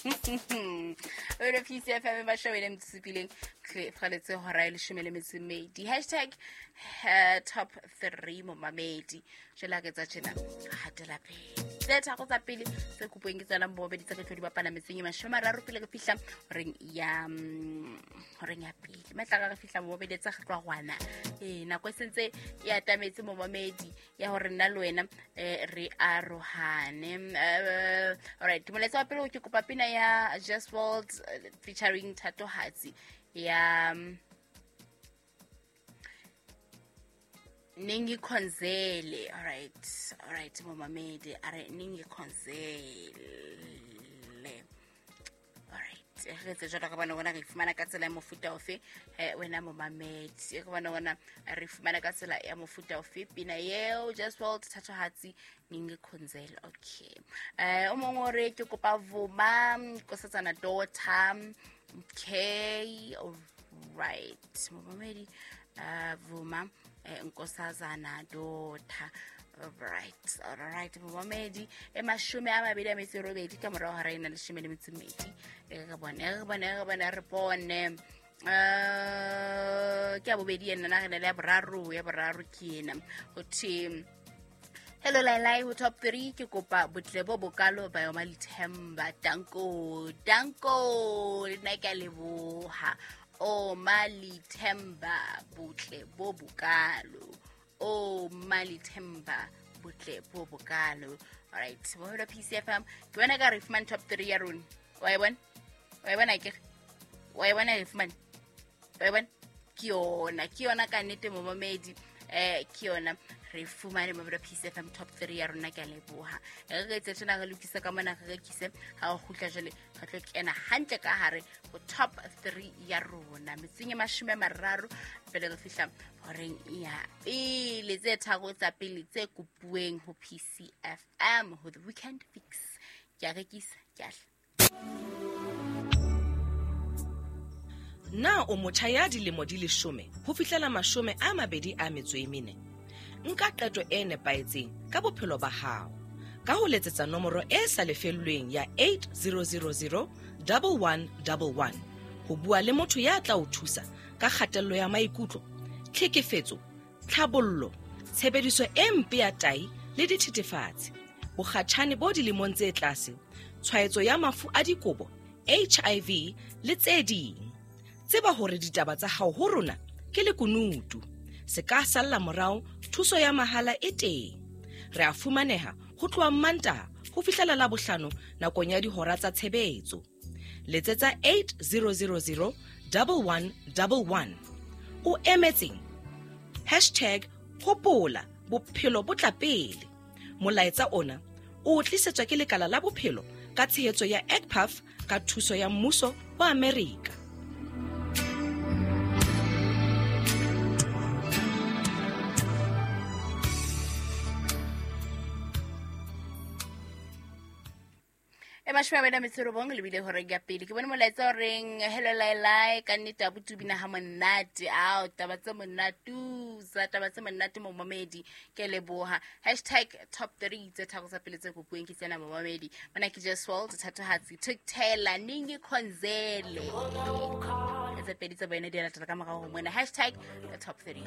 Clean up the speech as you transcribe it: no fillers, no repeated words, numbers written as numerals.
Ore PCFM ba shebele mtsipileng kgaletse hora e leshome le metso e mmedi. Hashtag top 3 momamedi. Jwale ha ke tsa tjena hatela pele. Tse tharo tsa pele tse kopuweng ke tsona momamedi tse re tlo di bapala metseng e mashome a mararo pele re fihla horeng ya horeng ya pele. Matla re fihla momamedi tsa re tloha rwana. Eh nako e sentse e atametse momamedi ya gore nna le wena re arohane. Alright, molaetsa wa pele ke kopa pina ya Just World featuring Thatohatsi ya Ningikhonzele. Alright, alright momamedi a re Ningikhonzele. Alright, re etse jalo re bone gona re fumana ka tsela ya mofuta ofe wena momamedi, re bone gona re fumana ka tsela ya mofuta ofe pina eo Just World Thatohatsi Ningikhonzele. Okay, o mongwe o re ke kopa Vuma Nkosazana Daughter. Okay, alright momamedi, Vuma Nkosazana Daughter. Alright, alright momamedi, e mashome a mabedi a metso e robedi ka morago ga ra ena leshome le metso e mmedi. Re bone, re bone, re bone, re bone. Ke ya bobedi ena, na re na le ya boraro, ya boraro ke ena. Ho thwe hello Lailai, ho top 3 ke kopa botle bo bokalo ba yoma Lithemba. Danko, danko, le nna ke a leboha. O Malithemba botle bo bokalo. O Malithemba botle bo bokalo. Alright, moholo PCFM ke bona ka re fumane top 3 ya rona. Wa e bona? Wa e bona ke? Wa e bona e fumane? Wa e bona? Ke yona, ke yona ka nnete momamedi. Ke yona re fumane moholo PCFM top 3 ya rona, ke a leboha. Re etse tjena re lokise ka mona, re rekise ha o kgutla jwale re tlo kena hantle ka hare ho top 3 ya rona. Metsing e mashome a mararo pele re fihla horeng ya pele, tse tharo tsa pele tse kopuweng ho PCFM ho the weekend fix. Ke a rekisa, ke a hla. Na o motjha ya dilemo di 10 ho fihlela 24? Nka qeto e nepahetseng ka bophelo ba hao ka ho letsetsa nomoro e sa lefellweng ya 8000 1111 ho bua le motho ya tla o thusa ka kgatello ya maikutlo, tlhekefetso, tlhabollo, tshebediso e mpe ya tai le dithethefatsi, bokgatjhane bo dilemong tse tlase, tshwaetso ya mafu a dikobo, HIV le tse ding. Tseba hore ditaba tsa hao ho rona ke lekunutu. Se ka salla morao, thuso ya mahala e teng. Re a fumaneha ho tloha Mantaha ho fihlela Labohlano nakong ya dihora tsa tshebetso. Letsetsa 8000 1111. O emetseng? Hashtag hopola bophelo bo tla pele. Molaetsa ona o tlisetswa ke lekala la bophelo ka tshehetso ya EGPAF ka thuso ya mmuso wa Amerika. E mashome a mabedi a metso e robong lebile horeng ya pele. Ke bone molaetsa o reng hello Lailai, ka nnete abuti o bina ha monate. Ao taba tse monate, tsa taba tse monate momamedi, ke leboha. Hashtag top 3 tse tharo tsa pele tse kopuweng ke tsena momamedi. Mona ke Just World Thatohatsi Thukthela Ningikhonzele. Tse pedi tsa boena di latela ka morao ho mona. Hashtag top 3.